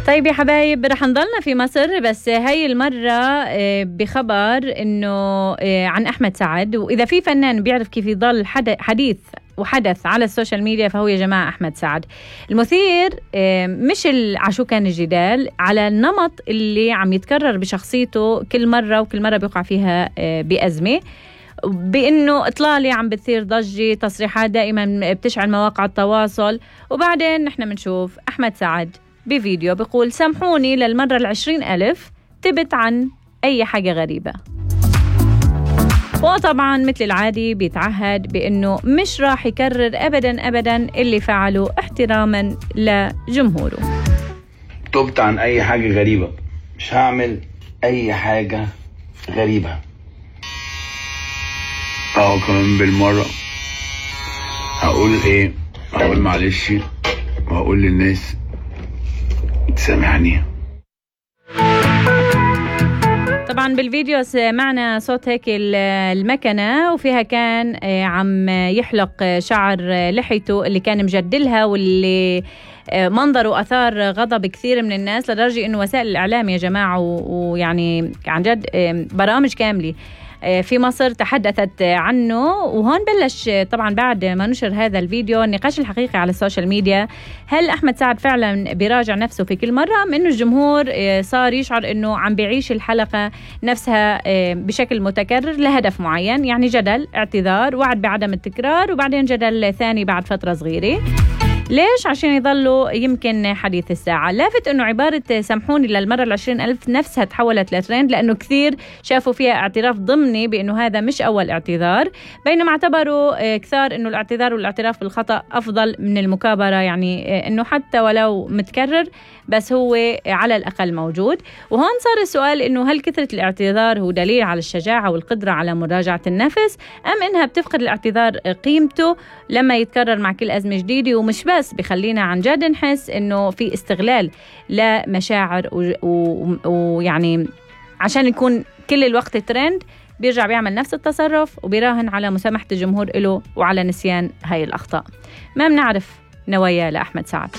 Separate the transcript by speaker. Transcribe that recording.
Speaker 1: طيب يا حبايب، رح نضلنا في مصر بس هاي المرة بخبر إنه عن أحمد سعد. وإذا في فنان بيعرف كيف يضل حديث وحدث على السوشيال ميديا فهو يا جماعة أحمد سعد. المثير مش عشو كان الجدال على النمط اللي عم يتكرر بشخصيته كل مرة وكل مرة بيقع فيها بأزمة، بأنه إطلالي عم بتصير ضجة، تصريحات دائما بتشعل مواقع التواصل، وبعدين نحن منشوف أحمد سعد بفيديو بيقول سامحوني للمرة 20,000 تبت عن أي حاجة غريبة. وطبعا مثل العادي بيتعهد بأنه مش راح يكرر أبدا اللي فعله احتراما لجمهوره.
Speaker 2: تبت عن أي حاجة غريبة، مش هعمل أي حاجة غريبة. كمان بالمرة هقول إيه؟ هقول معلش وهقول للناس سامحني.
Speaker 1: طبعا بالفيديو سمعنا صوت هيك المكنة وفيها كان عم يحلق شعر لحيته اللي كان مجدلها، واللي منظره أثار غضب كثير من الناس، لدرجة إنه وسائل الإعلام يا جماعة ويعني عن جد برامج كاملة في مصر تحدثت عنه. وهون بلش طبعا بعد ما نشر هذا الفيديو النقاش الحقيقي على السوشيال ميديا، هل أحمد سعد فعلا بيراجع نفسه في كل مرة، من إنه الجمهور صار يشعر إنه عم بيعيش الحلقة نفسها بشكل متكرر لهدف معين، يعني جدل، اعتذار، وعد بعدم التكرار، وبعدين جدل ثاني بعد فترة صغيرة. ليش؟ عشان يضلوا يمكن حديث الساعة. لافت أنه عبارة سامحوني للمرة 20,000 نفسها تحولت لترند، لأنه كثير شافوا فيها اعتراف ضمني بأنه هذا مش أول اعتذار، بينما اعتبروا كثار أنه الاعتذار والاعتراف بالخطأ أفضل من المكابرة، يعني أنه حتى ولو متكرر بس هو على الأقل موجود. وهون صار السؤال أنه هل كثرة الاعتذار هو دليل على الشجاعة والقدرة على مراجعة النفس، أم أنها بتفقد الاعتذار قيمته لما يتكرر مع كل أزمة جديدة، ومش بس بخلينا عن جد نحس أنه في استغلال لمشاعر ويعني عشان يكون كل الوقت ترند بيرجع بيعمل نفس التصرف وبيراهن على مسامحة الجمهور له وعلى نسيان هاي الأخطاء. ما بنعرف نوايا لأحمد سعد.